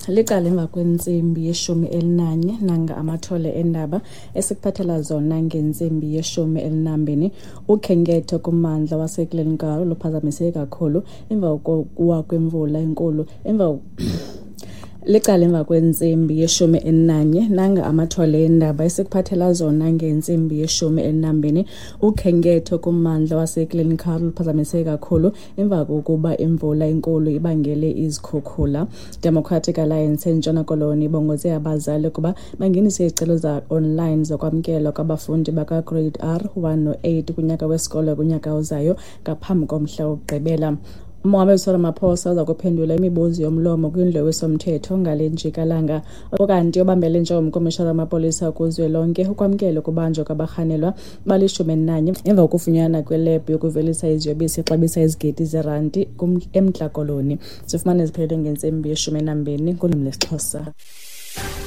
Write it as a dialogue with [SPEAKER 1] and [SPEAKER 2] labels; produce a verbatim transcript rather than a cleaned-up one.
[SPEAKER 1] Liqala emva kwentsimbi yeshumi elinanye. Nanga amathole endaba esikuphathela zona ngentsimbi yeshumi elinambini. Ukhenketho kummandla waseGlencoe luphazamise kakhulu emva kokuwa kwemvula enkulu emva. Licala emva kwentsimbi yeshumi elinanye. Nanga amathole endaba esikuphathela zona ngentsimbi yeshumi elinambini. Ukhenketho kummandla waseGlencoe luphazamise kakhulu emva kokuba imvula enkulu ibangele izikhukhula. Democratic Alliance eNtshona Koloni ibongoze abazali ukuba bangenise izicelo za-online zokwamkelwa kwabafundi bakaGrade R one no-eight kunyaka wesikolo kunyaka ozayo ngaphambi komhla wokugqibela. Umongameli Cyril Ramaphosa uza kuphendula imibuzo yomlomo kwindlu yowiso-mthetho ngale njikalanga. Ukanti obambele njengomkomishinala wamapolisa kuzwelonke ukwamkele ukubanjwa kwabarhanelwa balishumi elinanye emva kokufunyanwa kwelebhu yokuvelisa iziyobisi exabisa izigidi zeranti eMntla Koloni. Sifumane ziphelele ngentsimbi yeshumi elinambini ngolwimi lwesiXhosa.